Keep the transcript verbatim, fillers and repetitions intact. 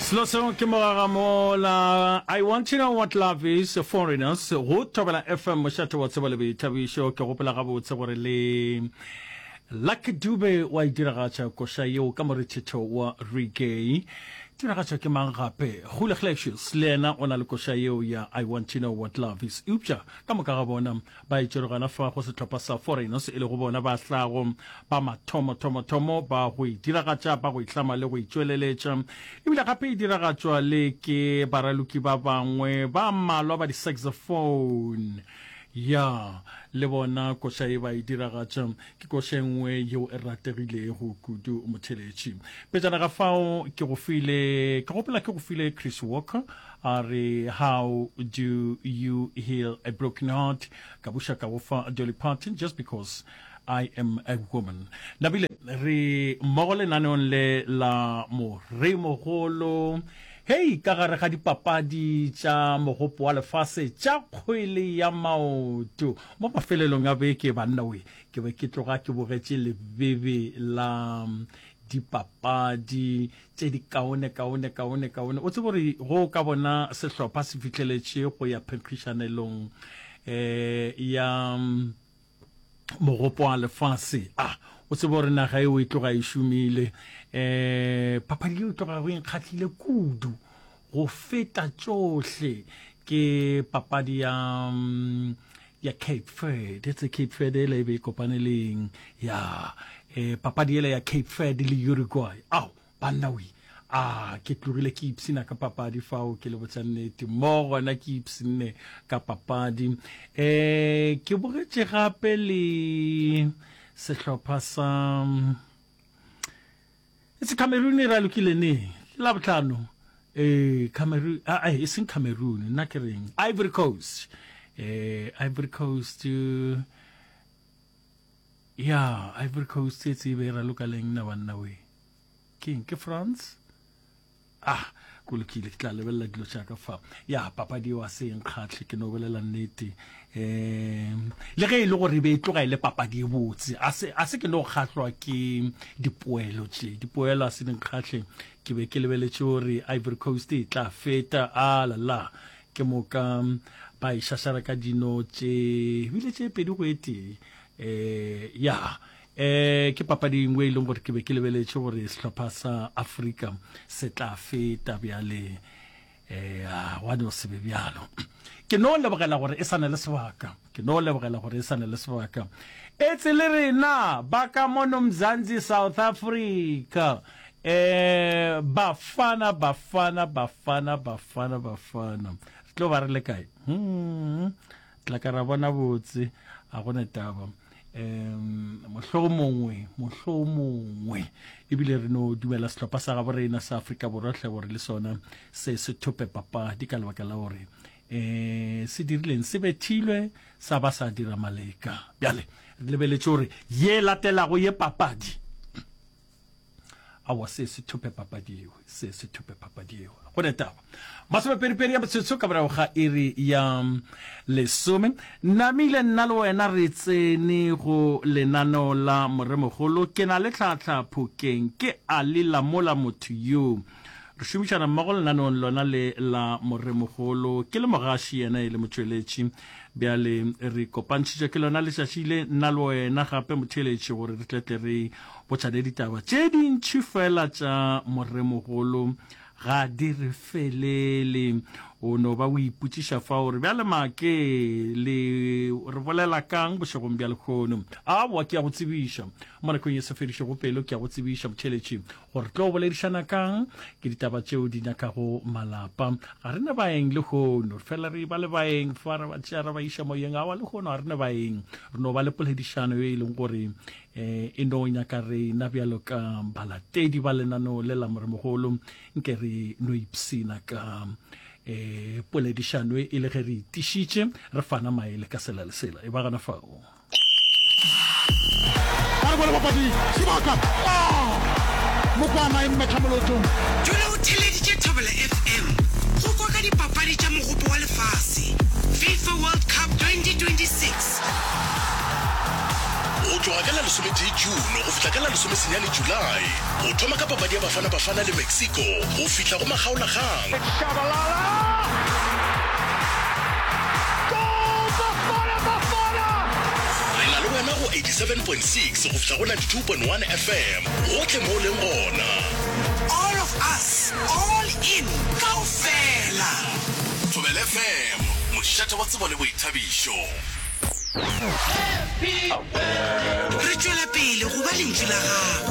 Selo seo ke mogagamola I want to know what love is foreigners go Thobela FM mošate wa tsebo le boithabišo ke gopola gabotse gore le Lucky Dube wa e diragatša koša yeo ka morethetho wa reggae diragatša ke mang gape Gule Glacius le yena o na le koša yeo ya I want to know what love is eupša ka moka ga bona ba e tšere gona fa go sehlopha sa Foreigners e lego bona ba hlago ba mathomo thomo thomo ba go e diragatša ba go e hlama le go e tšweleletša ebile gape e diragatšwa le ke baraloki ba bangwe ba mmalwa ba di-saxophone ya le bona koša e ba e diragatša ke koša e nngwe yeo e rategilego kudu motheletši pejana ga fao ke go file ke gopola ke go file Chris Walker a re how do you heal a broken heart ka buša ka go fa Dolly Parton just because I am a woman nabile re mmogo lenaneong le la moremogolo hei ka gare ga dipapadi tša mogopo wa lefase tša kgwele ya maoto mo mafelelong a beke banna we ke be ke tloga ke bogetše lebebe la dipapadi tše di kaone kaone kaone kaone o tsebe gore go ka bona sehlopha se fihleletše go ya phenkgišanelong um ya mogopo wa lefase a o tsebe gore naga eo e tloga e šomile um papadi eo e tloga go nkgahlile kudu go feta tšohle ke papadi ya ya Cape Verde etse Cape Verde ela e be e kopane leng ya eh, papadi ela ya Cape Verde le Uruguay ao banna we a ke tlogile ke ipshina ka papadi fao ke le botsa nnete mo gona ke ipshinne ka papadi um ke bogetše gape le sehlopha sa etse Cameroon e ralokile neng ke la botlhano eh Cameroon ah e seng Cameroon nna ke reng Ivory Coast eh Ivory Coast ya Ivory Coast e tsebe e raloka leng nna banna we keng ke France ah ko lokile ke tla lebelela dilo tša ka fa ya papadi eo a se nkgatlhe ke no bolela nnete um le ge e le gore e be e tloga e le papadi e botse a se a se ke no kgahlwa ke dipoelo tše dipoelo a se di nkgatlhe ke be ke lebeletše gore Ivory Coast e tla feta a la la ke moka ba e šašara ka dino tše bile tše pedi go e tee um ya eh ke papadi engwe e leng gore ke be ke lebeletše gore sehlopha sa Afrika se tla feta bjale eh wa no se be bjalo ke no lebogela gore e sa na le sebaka ke no lebogela gore e sa na le sebaka etse le rena ba ka mono Mzansi South Africa eh bafana bafana bafana bafana bafana re tlo ba re le kae hmm tla ka ra bona botse a gone taba um mohlomongwe mohlomongwe ebile re no dumela sehlopha sa gabo rena sa Afrika Borwa hle gore le sona se se thope papadi ka lebaka la gore um se dirileng se bethilwe sa ba sa dira maleka bjale re lebeletše gore ye latelago ye papadi awa se se thope papadi eo se se thope papadi eo go ne taba masomepedipedi ya metsotso ka morago ga iri ya lesome namile nna le wena re tsene go lenaneo la moremogolo ke na le tlhatlha phokeng ke a le lamola motho yo re šomišana mmogo lenaneong lona le la moremogolo ke le mogaši yena e le motšweletši bjale re kopantšhitše ke lona letšatši le nna le wena gape motheeletši gore re tletle re botšane ditaba tše dintšhi fela tša moremogolo ga di re felele o no ba o ipotšiša fa gore bjale make le re bolela kang bošegong bja lekgono aowa ke ya go tsebiša mo nakong ye sa fedišego pelo ke ya go tsebiša motheeletši gore tlo boledišana kang ke ditaba tšeo di nyakago malapa ga re ne baeng lehono fela re ba le baeng fa re ba tšea re ba iša moyeng awa lehono ga re ne baeng re no ba le poledišano ye e leng gore um e no nyaka rena bjalo ka balatedi ba lenaneo le la moremogolo nke re no ipsina ka um poledišano e le ge re itišitše re fana maele ka sela le sela e ba gana fao Ba re bone papadi sebaka ah! Mokwana e mmetha molotong. Dula o theleditše Thobela FM go kwa ka dipapadi tša Mogopo wa Lefase, FIFA World Cup twenty twenty-six. Go tloga ka la lesometee June go fihla ka la lesomesenyane July. Go thoma ka papadi ya Bafana Bafana le Mexico go fihla go makgaolakgang. Re na le wena go eighty seven point six go fihla go ninety two point one F M, gohle mo o leng gona. All of us, all in, kaofela. Thobela F M, mošate wa tsebo le boithabišo. Re tšwela pele go ba lentšu la gago.